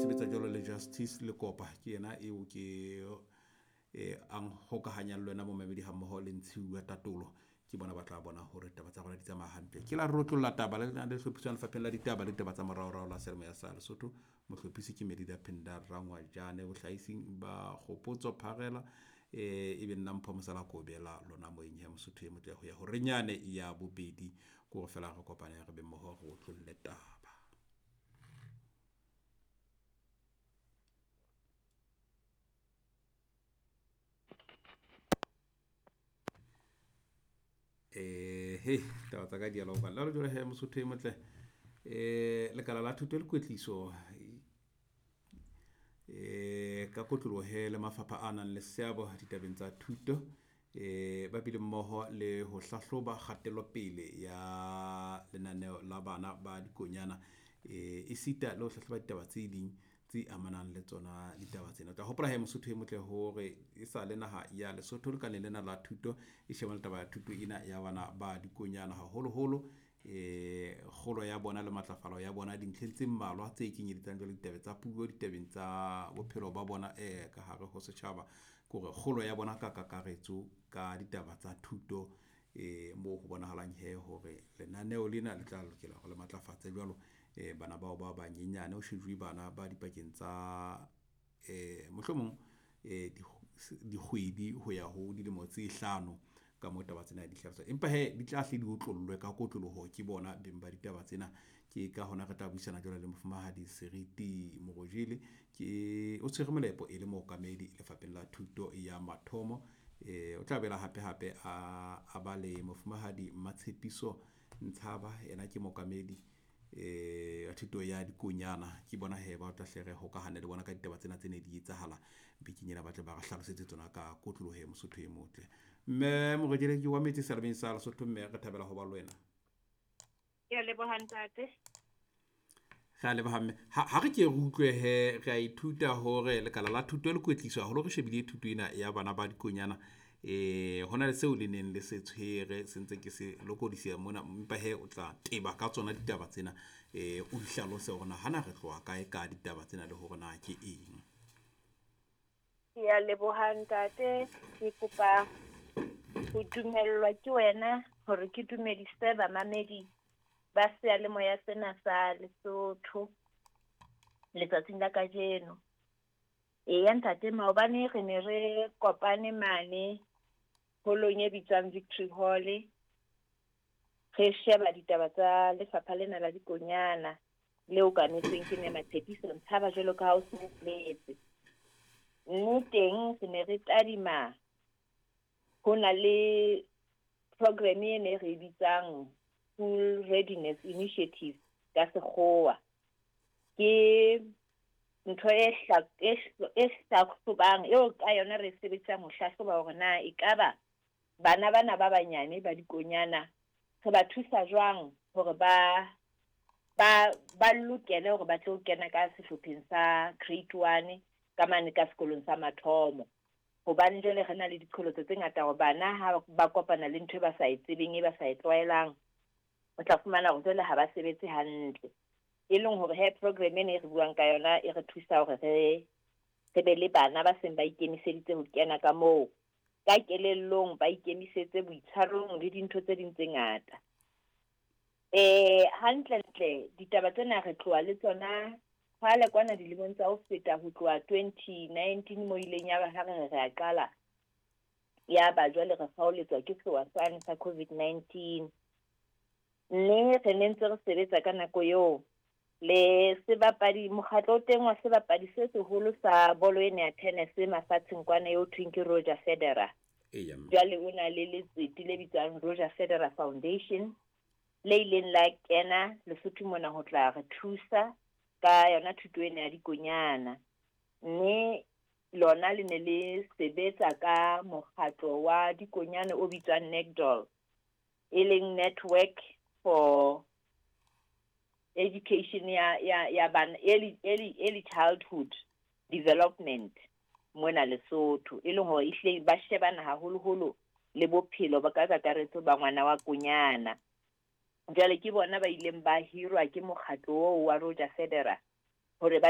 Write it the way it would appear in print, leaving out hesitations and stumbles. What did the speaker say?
sebetsa jwalo le Justice Lekopa, ke yena eo ke ang hokahanyang le wena momamedi hammoho le Ntshiuwa Tatolo. Ke bona ba tla bona hore taba tsa rona di tsamaya hantle. Ke la rotlolla taba le le hlophiswang Lefapheng la Ditaba le Ditaba tsa Moraorao la Seyalemoya sa Lesotho. Mohlophisi ke Medida Phinda Rangwajane, bohlahising ba Kgopotso Pharela, ebe nna Mpho Mosala Kobela lona moyeng ya Mosotho e motle ho ya horenyane ya bobedi. Ke hore feela re kopane re be mmoho re otlolle taba. He taba tsa ka di a loka. Le jwale he Mosotho e motle, lekala la thuto le kwetliso ka kotloloho he le mafapha a nang le seabo ditabeng tsa thuto, ba bile mmoho le ho hlahloba kgatelopele ya lenaneo la bana ba dikonyana, esita le ho hlahloba ditaba tse ding tse amanang le tsona ditaba tsena. O tla hopola he Mosotho e motle hore e sa le naha ya Lesotho lekaleng lena la thuto e shebana le taba ya thuto ena ya bana ba dikonyana, haholoholo kgolo ya bona le matlafalo ya bona dintlheng tse mmalwa tse kenyeletsang jwalo ditaba tsa puo, ditabeng tsa bophelo ba bona ka hare ho setjhaba. Ke hore kgolo ya bona ka kakaretso ka ditaba tsa thuto, moo ho bonahalang he hore lenaneo lena le tla lokela hore le matlafatse jwalo bana bao ba banyenyane. Ho shejuwe bana ba dipakeng tsa mohlomong dikgwedi ho ya ho dilemo tse hlano ka moo taba tsena di hlaloswa. Empa he di tla hle di otlollwe ka kotloloho ke bona beng ba ditaba tsena. Ke ka hona re tla buisana jwale le Mofumahadi Seriti Morojele, ke o tshwere molepo e le mookamedi Lefapheng la Thuto ya Mathomo. O tla bela hape hape a ba le Mofumahadi Matshepiso Ntshaba, yena ke mookamedi ya thuto ya dikonyana. Ke bona he ba tla hle re hokahane le bona ka ditaba tsena tse ne di etsahala bekeng ena, ba tle ba re hlalosetse tsona ka kotloloho he Mosotho e motle. Mme Morojele, ke wa metse seyalemoyeng sa Lesotho, mme re thabela ho ba le wena. Ke a leboha ntate. Re a leboha mme. Ha re ke re utlwe he, re a ithuta hore lekala la thuto le kwetliso haholo re shebile thuto ena ya bana ba dikonyana. Hona le seo le neng le se tshwere se ntse ke se lokodisa mona, empa he o tla teba ka tsona ditaba tsena, o di hlalose hore na hana re tloha kae ka ditaba tsena le hore na ke eng. Ke a leboha ntate, ke kopa ho dumellwa ke wena hore ke dumedise bamamedi ba seyalemoya sena sa Lesotho letsatsing la kajeno. Eya ntate, maobane re ne re kopane mane holong e bitswang Victory Hall, re sheba ditaba tsa lefapha lena la dikonyana le okametsweng ke Mme Matshepiso Ntshaba jwalo ka ha o se o boletse. Mme teng re ne re tadima ho na le program e ne re bitsang School Readiness Initiative ka sekgowa. Ke ntho e hlahlobang eo ka yona re sebedisang ho hlahloba hore na ekaba bana bana ba banyane ba dikonyana re ba thusa jwang hore ba lokele hore ba tlo kena ka sehlopheng sa grade 1 ka mane ka sekolong sa mathomo. Hobane jwale re na le diqholotso tse ngata hore bana ha ba kopana le ntho e ba sa e tsebeng, e ba sa e tlwaelang, o tla fumana hore jwale ha ba sebetse hantle. E leng hore he program ena e re buang ka yona e re thusa hore re be le bana ba seng ba ikemiseditse ho kena ka moo, ka kelellong, ba ikemisetse boitshwarong le dintho tse ding tse ngata. Hantle-ntle ditaba tsena re tloha le tsona kgale kwana dilemong tsa ho feta, ho tloha 2019 mo ileng ya ba ha re re a qala, ya ba jwale re kgaoletswa ke sewa sane sa COVID-19. Mme re ne ntse re sebetsa ka nako eo le sebapadi, mokgatlo o teng wa sebapadi se seholo sa bolo ena ya tennis mafatsheng kwana eo thweng ke Roger Federer. Jwale o na le letsete le bitswang Roger Federer Foundation le ileng la kena Lesotho mona ho tla re thusa ka yona thuto ena ya dikonyana. Mme lona le ne le sebetsa ka mokgatlo wa dikonyana o bitswang NECDOL, e leng Network for Education ya bana, early childhood development mona Lesotho, e leng hore ehlile ba shebana haholoholo le bophelo ba ka kakaretso ba ngwana wa konyana. Jwale ke bona ba ileng ba hirwa ke mokgatlo oo wa Roger Federer hore ba